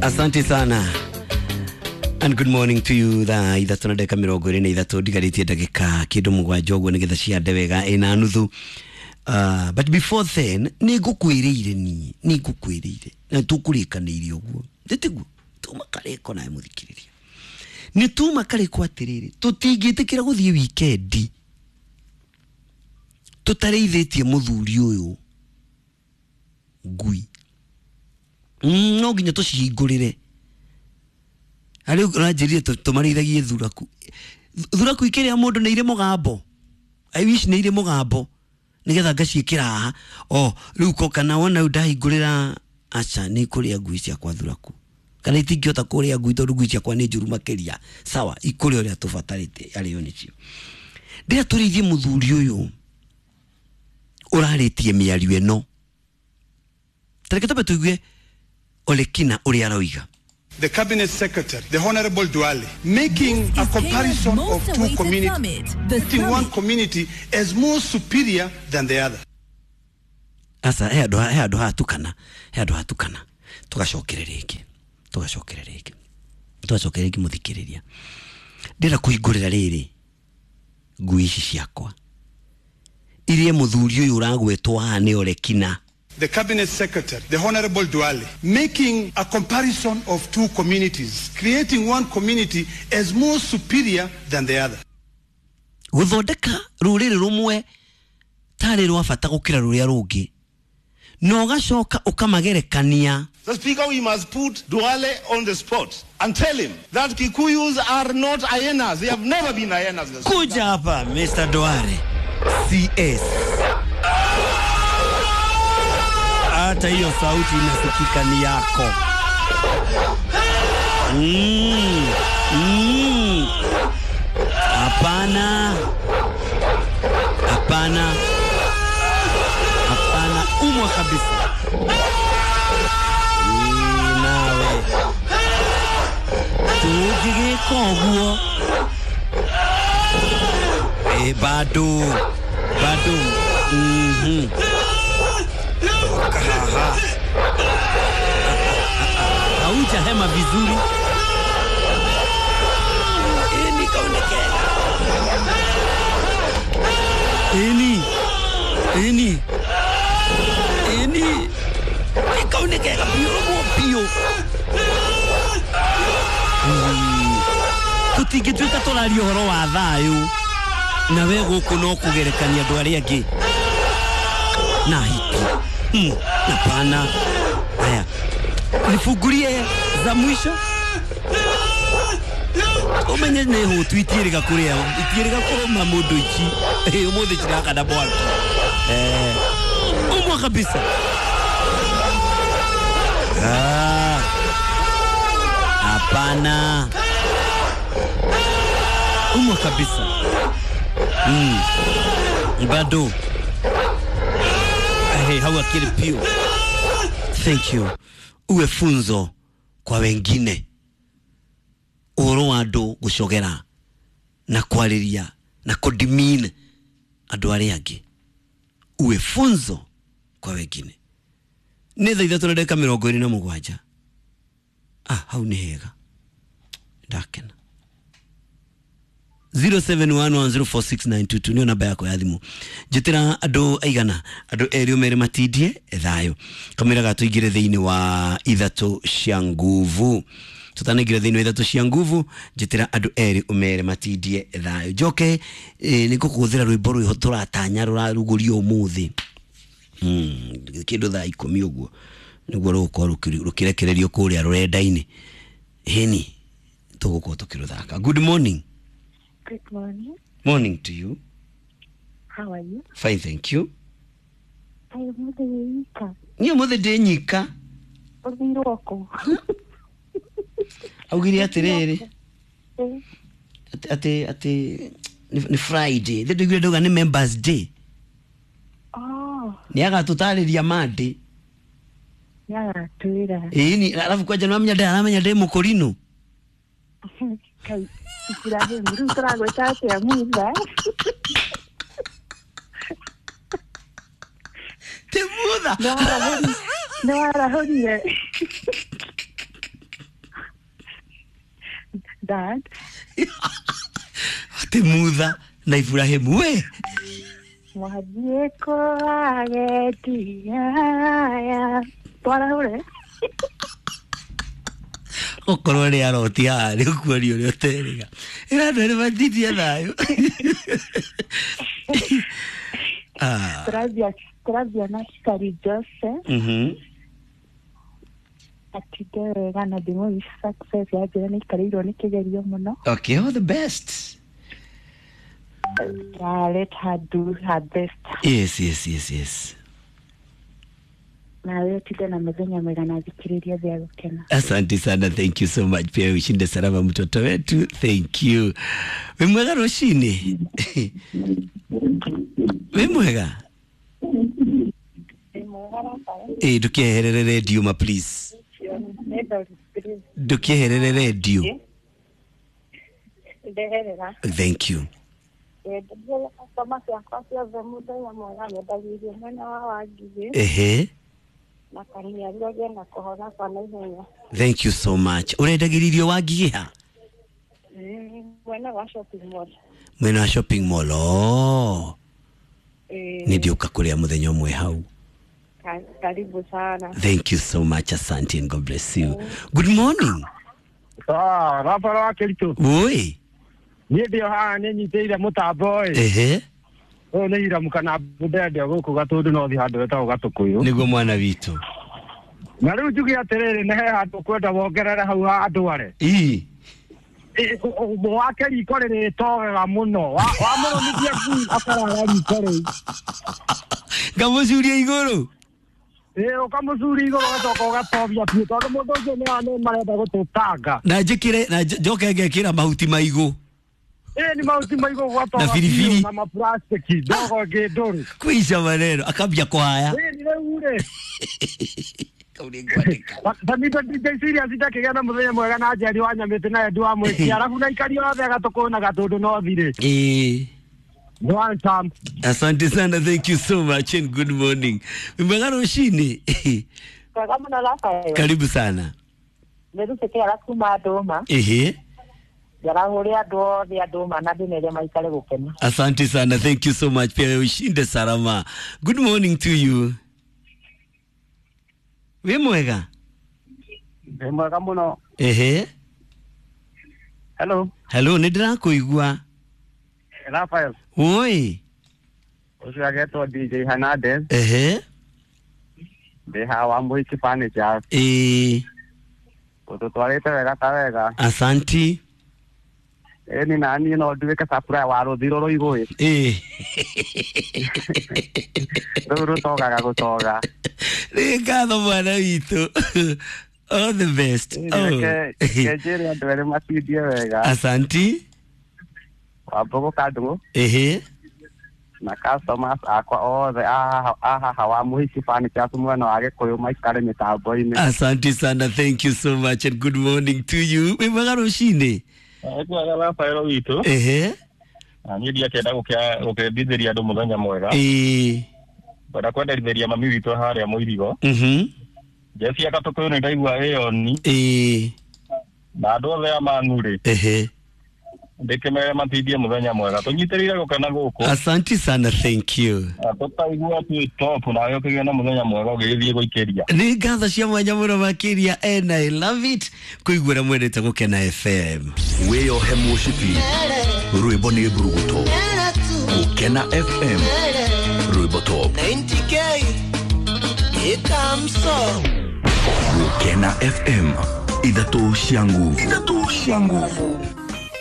Asante sana and good morning to you. Thaa 3 na ndagĩka 23 ndigarĩtie ndagĩka kĩndũ 7 ũguo nĩgetha ciande wega 4:30. But before then nĩ ngũkwĩrĩire niĩ, nĩ ngũkwĩrĩire na tũkũrĩkanĩire ũguo, ndĩtiguo tuma karĩko nawe mũthikĩrĩria, nĩ tuma karĩko atĩrĩrĩ, tũtingĩtĩkĩra gũthiĩ wikendi tũtarĩithĩtie mũthuri ũyũ ngui. No nginya tũcihingũrĩre. Harĩ ũranjĩrire tũmarĩithagie thuraku. Thuraku ikĩrĩa mũndũ nĩ irĩ mũgambo. I wish nĩ irĩ mũgambo nĩgetha ngaciĩkĩra haha. O rĩu ko kana wona rĩu ndahingũrĩra, aca nĩ kũrĩa ngui ciakwa thuraku, kana itingĩhota kũrĩa ngui tondũ ngui ciakwa nĩ njũru makĩria. Sawa, ikũrĩa ũrĩa tũbatarĩte arĩo nĩcio. Ndĩra tũrĩithie mũthuri ũyũ ũrarĩtie mĩario ĩno. Tareke twambe tũigue Olekina ũrĩa aroiga. The Cabinet Secretary, the Honorable Duale, making This a is comparison Kenya's of most two awaited communities, summit, the putting one summit. community as more superior than the other. Aca, he andũ hatukana, he andũ hatukana, tũgacokere rĩngĩ, tũgacokere rĩngĩ, tũgacokere rĩngĩ mũthikĩrĩria. Ndĩrenda kũhingũrĩra rĩrĩ ngui ici ciakwa irie mũthuri ũyũ ũragwetwo haha nĩ Olekina. The Cabinet Secretary, the Honorable Duale, making a comparison of two communities, creating one community as more superior than the other. Gũthondeka rũrĩrĩ rũmwe tarĩ rwa bata gũkĩra rũrĩa rũngĩ, na ũgacoka ũkamagerekania. The Speaker, we must put Duale on the spot and tell him that Kikuyus are not hyenas. They have never been hyenas. Mr. Speaker. Kuja hapa Mr. Duale CS. Hata hiyo sauti inasikika ni yako. Hapana. Hapana. Hapana, umwa kabisa. Nawe. Tũngĩgĩka ũguo. Bado. Bado. Kahaha. Hauja hema vizuri. Nikaonekana. Eni. Eni. Eni. Nikaonekana pio pio. Tũtingĩtuĩka tũraria ũhoro wa thayũ na we gũkũ no kũgerekania andũ arĩa angĩ na hiki. Hapana. Haya, nifungulie za mwisho. Umenye nĩ hũtu itiĩrĩga kũrĩa, itiĩrĩga kũrũma mũndũ ici. Ũmũthĩ cirakana mwaki. Umwa kabisa. Hapana. Umwa kabisa. Bado. Hey, hau akili pio. Thank you. Uwe funzo kwa wengine. Ũhoro wa andũ gũcogera na kwarĩria na kũdemean andũ arĩa angĩ. Uwe funzo kwa wengine. Nĩ thaa 3 na ndagĩka 27. Hau nĩ hega. Ndakena. 0711046922 nĩyo namba yakwa ya thimũ. Njĩtĩra andũ aigana, andũ erĩ ũmere matindie thayũ. Kamĩra gatũingĩre thĩinĩ wa 3 cia nguvu. Tũtanaingĩra thĩinĩ wa 3 cia nguvu, njĩtĩra andũ erĩ ũmere matindie thayũ. Njoke nĩ ngũkũhũthĩra rwĩmbo rwĩho tũratanya rũrarugũrio ũmũthĩ. Kĩndũ thaa 10 ũguo nĩguo rũgũkorwo rũkĩrekererio kũrĩa rũrenda-inĩ. Hĩni tũgũkorwo tũkĩrũthaka. Good morning. Good morning. Morning to you. How are you? Fine, thank you. I am the nyika. Niĩ ũmũthĩ ndĩ nyika. Ũthirwo kũ? Augire atĩrĩrĩ, atĩ atĩ nĩ Friday. Thĩ ndũiguire ndauga nĩ Members Day. Oh. Nĩ agatũtarĩria Monday. Nĩ agatwĩra. Ĩni, alafu kwanja nĩ wamenya aramenya ndĩ mũkũrinũ. Kai, Ibrahim, rĩu tũragwĩta atĩa mutha? Ti mutha. Nĩ warahũrire. dad. Atä Mutha na Ibrahimu we. Mwathiĩ kũagetia aya. Twarahũre. Okorwo nä aroti haha nä å kuoria å rä a å terä ga ä ra andå erä matindie thayå. Ah. Tũrathiĩ na Cari Jose. Atinde wega na ndĩmũ success ya njĩra nĩ ikarĩirwo nĩ kĩgerio mũno. Okay, all the best. Let her do her best. Yes. Nawe ũtinde na mĩthenya mĩega na thikĩrĩria thĩa gũkena. Asante sana, thank you so much. Pia ushinde salama mtoto wetu, thank you. Wĩ mwega rũcinĩ? Wĩ mwega? Ĩ, ndũkĩeherere redio ma, please, ndũkĩeherere redio. Ndeherera. Thank you. Customer ciakwa ciothe mũthenya mwega, nyendagĩria mwena wa Wangigĩ na Kaniaria agĩe na kũhona kwa naihenya. Thank you so much. Ũrendagĩrĩrio Wangigĩ ha? Mwena wa shopping mall. Mwena wa shopping mall, oh. Ĩĩ. Nĩ ndiũka kũrĩa mũthenya ũmwe hau. Karibu sana. Thank you so much, asante and God bless you. Good morning. Ah, Rafael wa Kericho. Woi. Niĩ ndĩ o haha nĩ nyitĩire mũtambo ĩ. Ũyũ nĩ Iramu kana Mbende gũkũ Gatũndũ no thi handũ hetagwo Gatũkũyũ. Nĩguo mwana witũ. Na rĩu njuge atĩrĩrĩ, nĩ he handũ kwenda wongerere hau ha andũ are. Ii. Wake riko rĩrĩtogega mũno. Wamũrũmithia ngui akarara riko rĩu. Ngamũcuria igũrũ. Ĩ, ũkamũcuria igũrũ ũgacoka ũgatobia biũ tondũ mũndũ ũcio nĩ marenda gũtũtanga. Na njĩkĩre na njoke ngekĩra mahuti maigũ. Ĩ, nĩ mahuti maigũ ũgatoga Na biribiri. biũ na maplastiki ndogo ĩngĩ ndũrũ. Kwisha maneno akambia kuhaya. Ĩ, nĩ rĩu rĩ. Kau nĩ ngwandĩka. Tanita DJ serious ndakĩgĩa na mũthenya mwega na Njeri wa Nyamĩtĩ na Edu wa Mwĩki arabu na aikari othe Gatũkũyũ na Gatũndũ no thirĩ. Ĩĩ. One time. Asante sana, thank you so much and good morning. Wĩ mwega rũcinĩ? Mwega mũno Rafael. Karibu sana. Nĩ Rutĩkĩara kuma Ndũma. Njarahũre andũ othe a Ndũma na ndĩmere maikare gũkena. Asante sana, thank you so much. Pia ushinde salama. Good morning to you. Wĩ mwega? Wĩ mwega mũno. Hello. Hello, nĩ ndĩrakũigua. Rafael. Woi. Ũcio agetwo DJ Hernandez. Ndĩ haha wa Mũhiki Furniture. Ũtũtwarĩte wega ta wega. Asanti. Ĩni na niĩ no nduĩke supplier wa rũthiro rũigũ ĩ. Rũu rũtogaga gũtoga. Nĩ ngatho mwana witũ. All the best. Ĩni reke njĩre andũ erĩ matindie wega. Asanti. Wambũgũ Kandũgũ na customers akwa othe a haha wa Mũhiki Furniture mwena wa Gĩkũyũ maikare mĩtambo-inĩ. Asante sana, thank you so much and good morning to you. Wĩ mwega rũcinĩ? Kwega Rafael witũ. Na niĩ ndiakĩenda gũkĩendithĩria andũ mũthenya mwega. Ngwenda kwenderithĩria mami witũ harĩa Mũirigo. Jesi ya Gatũkũyũ nĩ ndaigua ĩyoni. Na andũ othe a Mang'u-rĩ. Ndĩkĩmere matindie mũthenya mwega. Tũnyitĩrĩire gũkena gũkũ. Asante sana, thank you. Na tũkaigua twĩ top nawe ũkĩgĩa na mũthenya mwega ũgĩgĩthiĩ gũikĩria. Nĩ ngatho cia mwanya mũno makĩria and I love it kũigua ũrĩa mwendete Gũkena FM. Wĩyohe mũcibi, rwĩmbo nĩ mburuguto. Gũkena FM, rwĩmbo top. 90K ikamso. Gũkena FM, ithatũ cia nguvu, ithatũ cia nguvu.